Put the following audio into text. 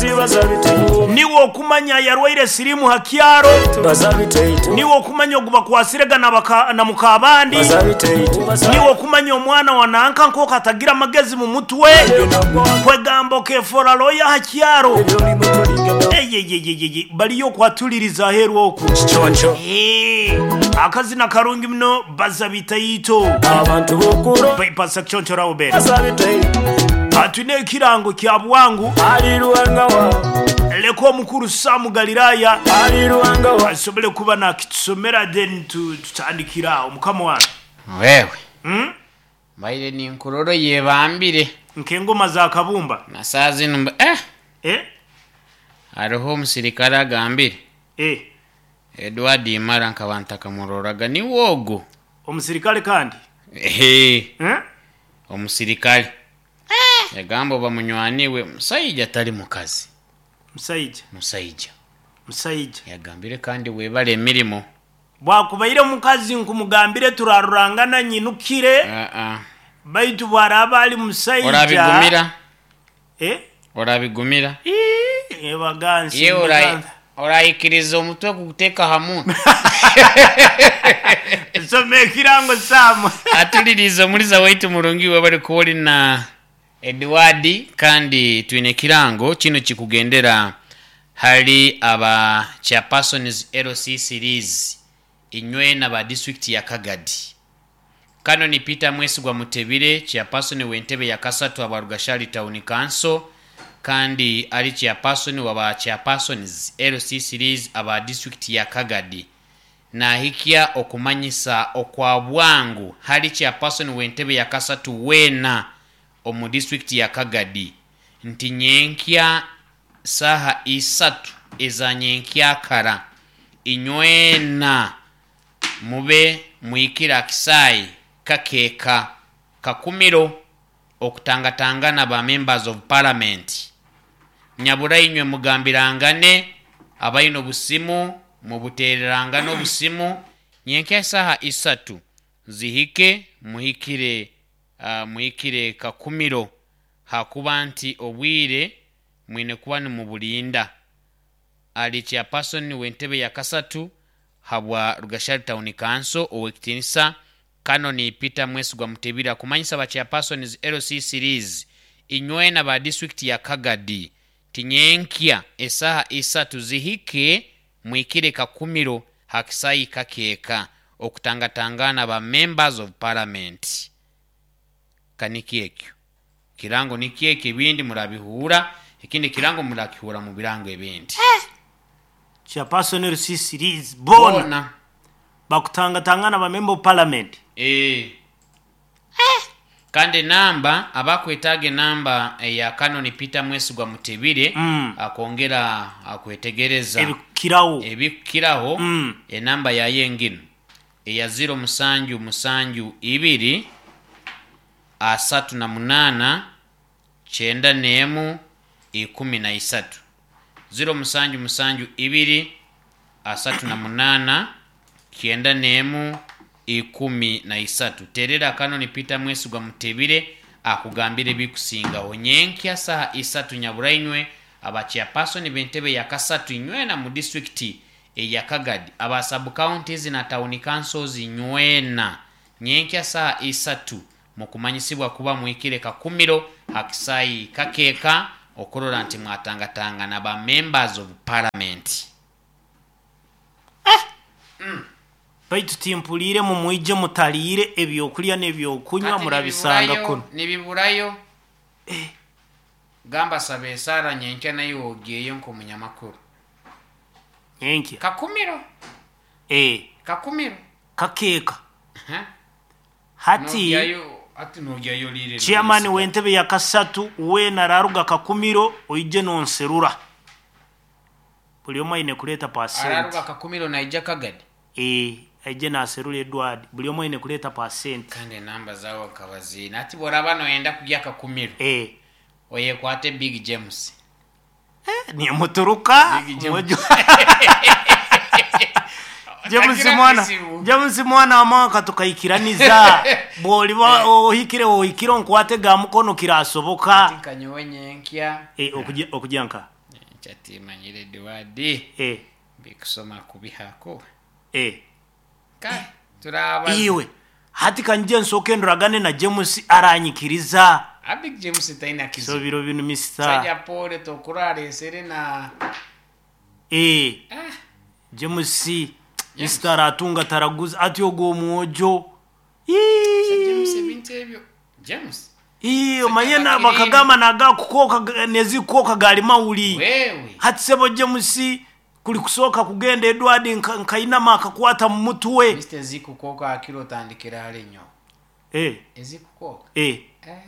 Niiwe okumanya ayarwaire siriimu ha kyaro. Niiwe okumanya ogu bakwasire ga na mukaabandi. Niiwe okumanya omwana wa nanka nk'oku atagira magezi mu mutwe. Kwegamba okefoora looya aha kyaro. Eyeyeyeyeye bariyo okwatuliriza aheeru oku. Eeh, akazina karungi muno Baza Bitaito. By Pastor Kiconco Rauben. Twine ekirango kya bwangu. Leka omukuru Sam Galilaya asobole kuba nakitusomera then tutandikire aho. Mukama wange. Wewe mbaire ninkurora oyebambire. Nk'engoma za kabumba. Na saaha zinu mba eh! Eh? Hariho omusirikare agambire. Eh. Edward Imara nkaba ntakamuroraga niwe ogu. Omusirikare kandi? Ehe. Eh? Omusirikare. Yagamba oba munywani we musaija tari mukazi. Musaija. Musaija. Musaija. Yagambire kandi webare emirimo. Bwakubaire mukazi nkumugambire turarurangana nyinukire. Aa. Baitu bwaraaba ari musaija. Orabigumira? Eh? Orabigumira? Ii, ebagansi, Iwe ora- Uganda. oraikiriza omutwe kuguteeka aha muntu? Soma ekirango Sam. Atuliriize omuriza waitu murungi webare kuba ori na Edward kandi twine ekirango kinu kikugendera hali aba chairpersons LC series inywe na ba district ya Kagadi. Canon Peter Mwesigwa Mutebile, Chairperson w'entebe ya kasatu aba Rugashari Town Council kandi ari Chairperson wa ba Chairpersons LC Series aba disiturikiti ya Kagadi nahikya okumanyisa okwa bwangu hali Chairperson w'entebe ya kasatu weena omu disiturikiti ya Kagadi nti nyenkya saaha isatu eza nyenkyakara inywena Mube mwikire akisaayi kakeeka kakumiro okutangatangana ba members of parliament. Nyabura inywe mugambirangane abaine obusimu mubutererangane obusimu nyenkya esaaha isatu zihike muhikire muhikire kakumiro hakuba nti obwire mwine kuba nimuburinda. Ari Chairperson w'entebe ya kasatu habwa Rugashari Town Council, Ow'ekitinisa Canon Peter Mwesigwa Mutebile akumanyisa ba Chairpersons LC Series inywena ba disiturikiti ya Kagadi ti nyenkya esaaha isatu zihike mwikire Kakumiro ha kisaayi kakeeka okutangatangaana ba Members of Parliament. Ka nikyo ekyo. Kirango nikyo ekyo ebindi murabihuura, ekindi kirango murakihuura mu birango ebindi. Chairperson LC Liz boona bakutangatangana ba Member of Parliament. Eeh. Kandi enamba, abakwetaaga enamba eya Canon Peter Mwesigwa Mutebile akwongera kwetegereza Ebikukiraho. ebikukiraho, enamba yayo enginu eya ziro musanju musanju ibiri, 38, 91, 13. Ziro musanju musanju ibiri, 38, 91, 13. Terera Kanoni Peter Mwesigwa Mutebile akugambire ebikusingagho. Nyenkya saha isatu nyabura inywe aba chairperson b'entebe ya kasatu inywena mu disitulikiti eya Kagadi, aba sub counties na town councils inywena. Nyenkya saaha isatu mukumanyisibwa kuba muhikire Kakumiro ha kisaayi kakeeka okurora nti mwatangatangana ba Members of Parliament. Baitu timpuliire mumwije mutaliire ebyokulya n'ebyokunywa Hati murabisanga nibiburayo, kunu. nibiburayo. Gamba saba esaara nyenkya naiwe ogyeyo nk'omunyamakuru. Nyenkya. Kakumiro. Ee. Kakumiro. Kakeeka. Aha. Hati Nogyayo, hati nogyayo oriire Chairman noyesiga. w'entebe ya kasatu weena araruga Kakumiro oije nonserura. Buri omwe aine kureeta pasenti. Araruga Kakumiro naija Kagadi? Ee, aije naserura Edward. Buri omwe aine kureeta pasenti. Kandi enamba zaabo nkaba ziine. Hati bworaba noyenda kugya Kakumiro, Ee. oyekwate Big James. Nimuturuka Big James. James Tagira mwana kizibu. James mwana wa mwaka tukaikiraniza bwoliba ohikire ohikire onkwate ga mukono kirasoboka. Nka nyowe nyenkya. Eh, okugya okugya nka. Nchatimanyire Edward. Eh, Bikusoma kubihako. eh. Kale turabaza. Iwe hati kanje nsooke nduragane na James aranyikiriza. Abig James taina So kizibu. biro binu Mr. Saja pole tokuraresere na Eh, ah, James Mr. aratunga taraguza ati ogwo omwojo. James Ii. ebintu ebyo. James Ii, omanye Sajja na bakirinde. bakagamba naga kukoka nezikukoka gali mawuli. Wewe. Hati sebo James kuli kusooka kugenda Edward nkainama akakwata mu mutwe. Mr. Zikukoka akiro tandikira hali nyo. Eh, Ezikukoka. eh. Eh.